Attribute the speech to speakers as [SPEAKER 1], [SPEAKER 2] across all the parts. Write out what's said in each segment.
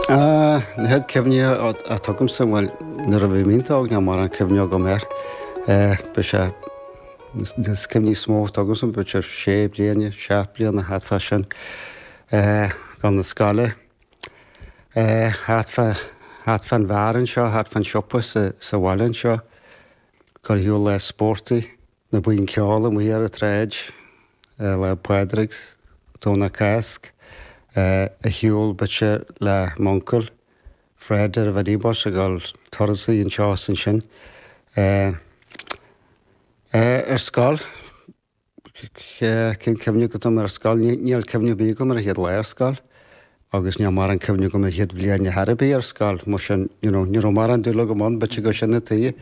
[SPEAKER 1] Na chéad cuimhní atá agamsa, bhuel, nuair a bhí mé iontach óg níl mórán cuimhne agam air. Bhí sé, na cuimhní is mó atá agamsa, bhí sé sé bliana, seacht bliana, thart fá sin. Dul na scoile, thart fá, thart fán bheár anseo, thart fán siopa sa, sa bhaile anseo. Dul ar shiúl lá spóirt. Na buíon ceoil amuigh ar an tsráid, Lá Pádraig, Domhnach Cásc, ar shiúl b'fhéidir le m'uncail, Fred ar an mhinibus ag dul turasaí anseo is ansin. Ar scoil, cén cuimhne agat agam ar scoil? Níl cuimhne ar bith agam ar an chéad lá ar scoil agus níl mórán cuimhne agam ar an chéad bhliain ar chor ar bith ar scoil, mar sin, you know, ní raibh mórán dúil agam ann, b'fhéidir gur sin an tuige.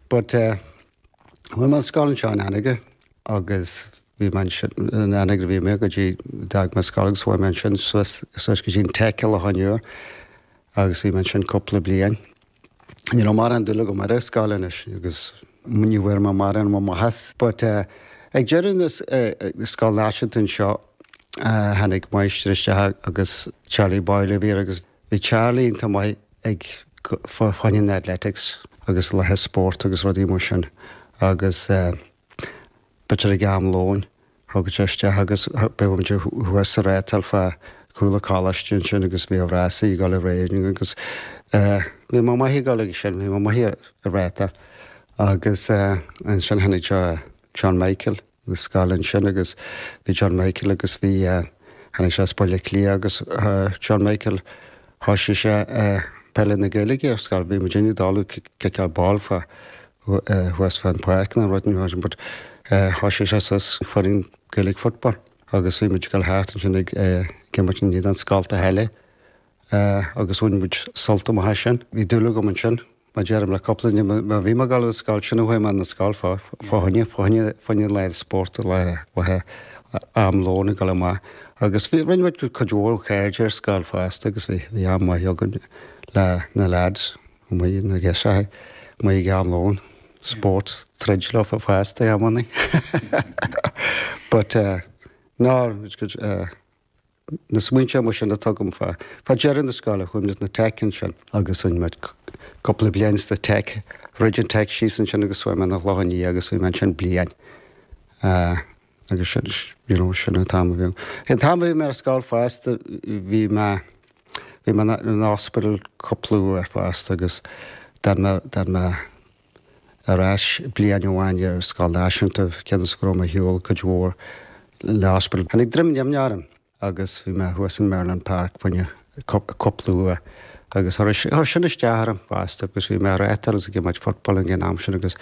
[SPEAKER 1] But chuaigh mé ar scoil anseo in Anagaire agus bhí mé ansin, in Anagaire bhí mé go dtí, d'fhág mé scoil agus chuaigh mé ansin suas, suas go dtí an Tech i Loch an Iúir agus bhí mé ansin cúpla bliain. Ní raibh mórán dúil agam ar an scoil anois agus ní bhfuair mé mórán maitheas. But ag deireadh na Scoil Náisiúnta anseo tháinig máistir isteach agus Charlie Boyle a bhí air agus bhí Charlie iontach maith ag fá choinne na athletics agus laetha spóirt agus rudaí mar sin agus b'fhéidir ag am lóin Thagadh sé isteach agus bheadh muid thuas sa rátal fá chúl an choláiste ansin agus bhíodh rásaí ag dul ar aghaidh agus bhí mé maith ag dul ag sin, bhí mé maith ar rátal. Agus ansin tháinig John Michael na scoile ansin agus bhí John Michael agus bhí, tháinig sé as Baile Átha Cliath agus John Michael thoisigh sé peile na Gaeilge ar scoil, bhí muid ag dul ag ciceáil ball fá thuas fán pháirc nó rud nó but thoisigh sé suas foireann Gaelic football agus bhí muid ag dul thart ansin ag imirt in éadan scoltacha eile agus bhain muid sult amach as sin. Bhí dúil agam ansin, mar deirim le cúpla duine, má bhí mé ag dul ar scoil, sin a chuaigh mé na scoil fá choinne, fá choinne, fá choinne lá spóirt, lá, lá am lóin ag dul amach. Agus bhí, rinne muid cuid mhór cairde ar scoil fosta agus bhí, bhí am maith againn le na lads. Amuigh na girseachaí, amuigh ag am lóin, spórt, troid leo fosta ag amannaí. But no, it's good, na smaointe mar sin atá agam fá, fá deireadh na scoile, chuaigh muid na Tech ansin agus rinne muid cúpla bliain sa Tech, throid an Tech síos ansin agus chuaigh mé na Clochán Liath agus bhí mé ansin bliain. Agus sin, you know, sin an t-am a bhí. An t-am a bhí mé ar scoil fosta, bhí mé, bhí mé in ospidéal cúpla uair fosta agus d'fhan mé, d'fhan mé ar ais bliain amháin ar scoil náisiúnta, cionn is go raibh mé ar shiúl cuid mhór le hospidéal. Tháinig droim nimhneach orm. agus bhí mé thuas in Merlin Park fá choinne cúpla uair agus chuir sin isteach orm fosta agus bhí mé ar rátal agus ag imirt football ag an am sin agus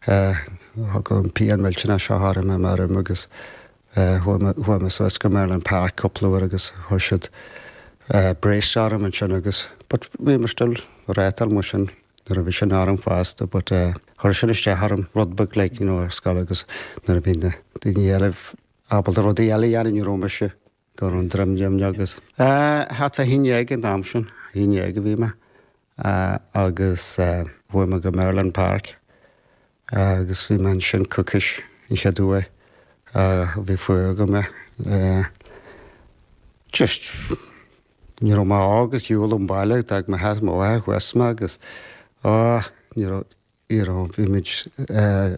[SPEAKER 1] thug an pian millteanach seo orm i m'arm agus chuaigh mé suas go Merlin Park cúpla uair agus chuir siad brace orm ansin agus but bhí mé still ar rátal mar sin nuair a bhí sin orm fosta but chuir sin isteach orm rud beag like you know ar scoil agus nuair a bhí na daoine eile ábalta rudaí eile a dhéanamh, ní raibh mise go raibh an droim nimhneach agus. Thart fá 11 an t-am sin, 11 a bhí mé agus chuaigh mé go Merlin Park agus bhí mé ansin coicís an chéad uair a bhí fuath agam é. Just ní raibh mé óg ar shiúl ón baile, d'fhág m'athair mo mháthair thuas mé agus á ní raibh you know, bhí muid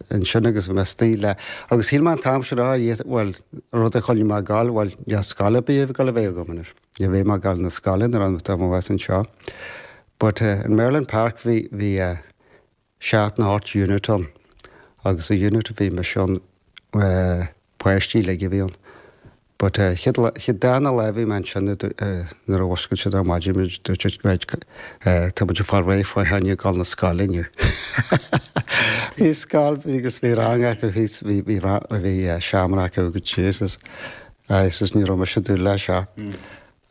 [SPEAKER 1] ansin agus bhí mé istigh le, agus shíl mé an t-am sin, ah, bhuel, rud a choinnigh mé ag gabháil, bhuel, níl scoil ar bith ag gabháil a bheith agam anois. Ní bheidh mé ag gabháil na scoile nuair atá mé abhus anseo. But in Merlin Park bhí, bhí seacht nó ocht unit ann agus sa unit a bhí mise ann, páistí uilig a bhí ann. But chéad lá, chéad darna lá a bhí mé ansin nuair a mhuscail siad ar maidin muid, dúirt siad right, tá muid ag fáil réidh fá choinne dul na scoile inniu. Bhí scoil, bhí agus bhí rang acu thíos, bhí, bhí, bhí seomra acu go Jesus. Agus ní raibh mise ag dúil leis seo.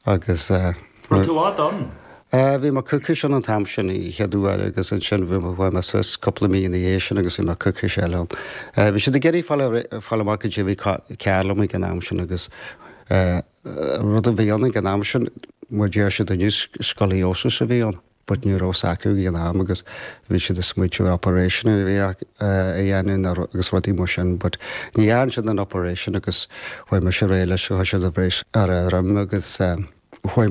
[SPEAKER 1] Agus.
[SPEAKER 2] Raibh tú fhad ann?
[SPEAKER 1] Bhí mé coicís ann an t-am sin an chéad uair agus ansin bhí mé, chuaigh mé suas cúpla mí ina dhiaidh sin agus bhí mé coicís eile ann. Bhí siad ag iarraidh fáil, fáil amach cad é a bhí cearr liom ag an am sin agus rud a bhí ann ag an am sin, mar deir siad inniu, scoliosis a bhí ann. but ní raibh 's acu ag an am agus bhí siad ag smaoitiú ar operation a bhí a dhéanamh agus rudaí mar sin but ní dhearn siad an operation agus chuaigh mise ar aghaidh leis, chuir siad an brace ar an droim agus chuaigh mé.